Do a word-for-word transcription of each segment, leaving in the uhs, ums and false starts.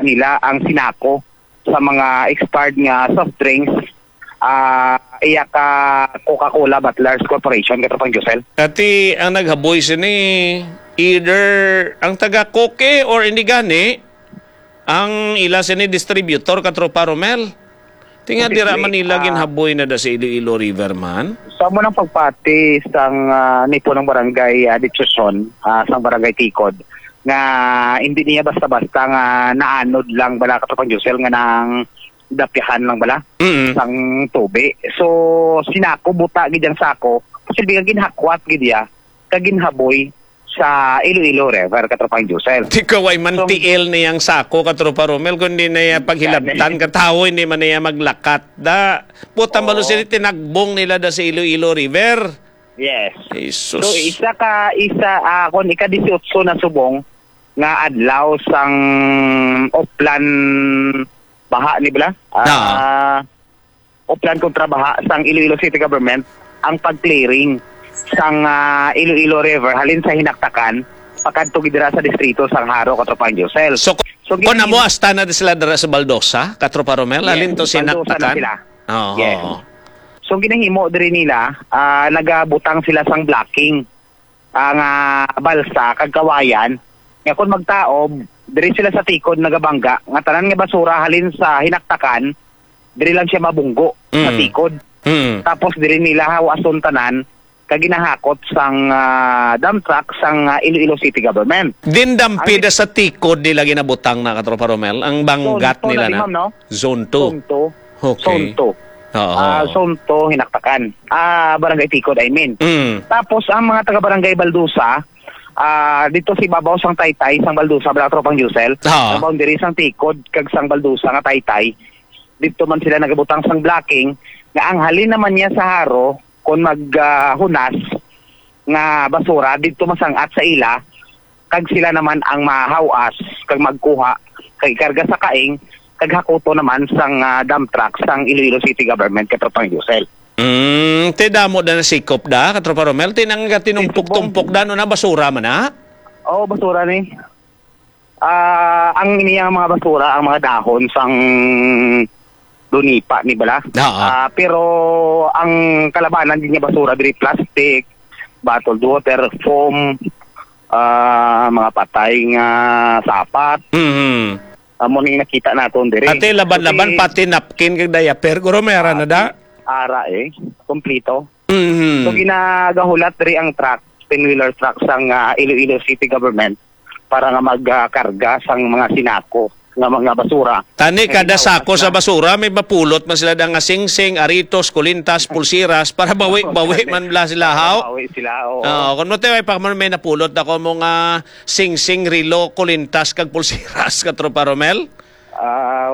nila ang sinako sa mga expired nga soft drinks, ah, iya ka Coca-Cola Bottlers Corporation, Katropang Josel. Ati ang naghaboy sini, either ang taga Coke or hindi gani, ang ila sini distributor, Katropa Romel. Tinga dira Posible, man nila ah, ginhaboy na da sa Iloilo River man. Sa mo nang pagpati sang, ah, nipo ng barangay, ah, Dichoson, ah, sang barangay Tikod, nga hindi niya basta-basta nga naanod lang bala, Katropang Josel, nga nang dapyahan lang bala Mm. sang tubi. So, sinako, buta gid ang sako, kasi biya ginhakwat gid iya, kag ginhaboy sa Iloilo River, Katropang Josel. Di ka way man So, tiil niyang sako, Katropa Romel, kundi na iya paghilabtan, Gani. Katawo, hindi man niya maglakat. Da, puta, Oo. Malo sila tinagbong nila da sa Iloilo River. Yes. Jesus. So, isa ka, isa, ah, kung ika-disiotso na subong nga adlaw sang Oplan baha ni bala? Ah. Ah, Oplan kontra baha sang Iloilo City Government ang pag-clearing sang, ah, Iloilo River halin sa Hinaktakan pakadto gid dira sa distrito sang Jaro, Katropang Josel. So, So, kung gini- amo, hasta na sila dira sa Baldosa, Katropa Romel, Yes, halin to sa Baldosa na Hinaktakan? Sila. Oo. Yes. So, ginahimo diri nila, ah, nagabutang sila sang blocking, ah, nga balsa kag kawayan, nga kung magtaob, diri sila sa Tikod nagabangga, nga tanan nga basura halin sa Hinaktakan, diri lang siya mabunggo sa Mm. Tikod. Mm. Tapos diri nila hawason tanan, kag ginahakot sang, ah, dump truck sang, ah, Iloilo City Government. Din dampida Ang sa Tikod nila ginabutang na, Katropa Romel, ang banggat Zone two na nila di, na? Ma'am, no? Zone two. Zone two. Okay. Zone two. Oo. Ah, Zone two, Hinaktakan. Ah, Barangay Tikod, I mean. Mm. Tapos, ang mga taga-Barangay Baldusa, ah, dito sa ibabaw sang Taytay, sang Baldusa, bala, Tropang Josel, Oo. Ang boundary sang Tikod, kag sang Baldusa nga Taytay, dito man sila nagabutang sang blocking, nga ang halin naman niya sa Jaro, kung mag, ah, hunas nga basura, dito masangat sa ila, kag sila naman ang mahawas kag magkuha kag ikarga sa kaing kag hakuto naman sang, ah, dump truck sang Iloilo City Government, Katropang Yusel. Mm, ti damo da nasikop da, Katropa Romel, ti nang gatinumpok-tumpok da, no, na basura man na? Oo, basura ni. Ah, ang iniyang mga basura, ang mga dahon sang dunipa ni bala. Oo. Ah, pero ang kalabanan din nga basura diri plastic, bottled water, foam, ah, mga patay nga sapat. Mhm. Amo ni nakita naton diri. Ate, laban-laban, Kasi pati napkin kag diaper, guro, may ara na da? Ara, eh. Kompleto. Mhm. So, ginagahulat diri ang truck, ten-wheeler truck sang, ah, Iloilo City Government para nga magkarga sang mga sinako nga mga basura. Tani, Nga kada ginahulat sako sa na. basura, may mapulot man sila da nga singsing, aritos, kulintas, pulsiras, para bawi-bawi man bala sila, haw? Bawi sila, oo. Oo, kung mo tayo, ay pa, may napulot ako mo nga singsing, rilo, kulintas, kag pulsiras, Katropa Romel? Ah,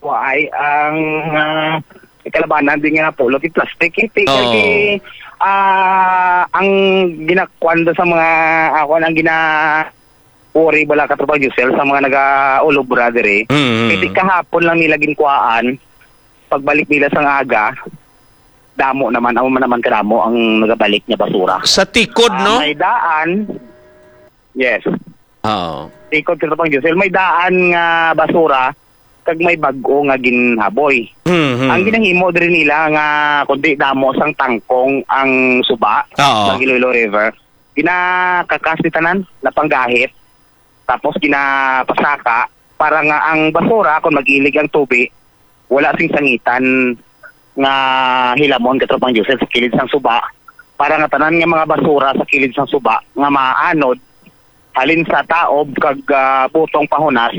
waay ang, ah, kalabanan din nga napulot, yung plastic, eh. Ti-, Oo. Kay, ah, ang ginakuan do sa mga, ako, ang gina-, worry bala, Katropa Yusel, sa mga nagaulobra diri. Mm. Kay ti kahapon lang nila ginkuhaan, pagbalik nila sang aga, damo naman, amo man naman kadamo ang nagabalik nga basura. Sa Tikod, Ah, no? May daan. Yes. Oo. Tikod, Katropa Yusel, may daan nga basura, kag may bag-o nga ginhaboy. Mhm. Ang ginahimo diri nila nga kundi damo sang tangkong ang suba Oo. sa Iloilo River, ginakakas ni tanan, napanggahit, tapos ginapasaka para nga ang basura, kung mag-ilig ang tubi, wala sing sangitan nga hilamon, Katropang Joseph, sa kilid sang suba, para nga tanan nga mga basura sa kilid sang suba nga maanod halin sa taob kag, ah, butong pahunas,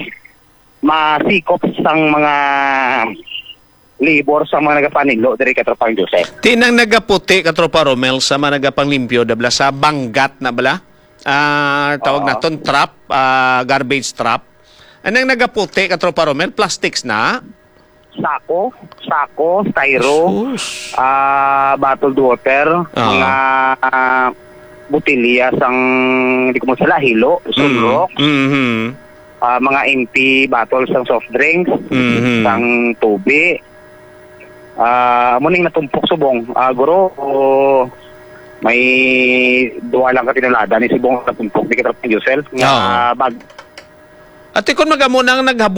masikop sang mga libor sang mga nagapanilo diri, Katropang Joseph. Tinang nagaputi, Katropa Romel, sa mga nagapanglimpyo, da bala sa banggat na bala? Ah, tawag Oo. naton trap, ah, garbage trap. Anang nagaputi, Katropa Romel, plastics na? Sako, sako, styro, Jesus. ah, bottled water, Ah. mga, ah, botelya sang, di ko masala, hilo, Mm. sunrox, Mhm. ah, mga empty bottles sang soft drinks, Mhm. sang tubi. Ah, amo ning natumpok subong. Ah, guro, o, may duha lang ka tinulada ni subong natumpok ni Katropang Yusel. Nga Oo. bag- Ate, kung mag-amo nang naghaboy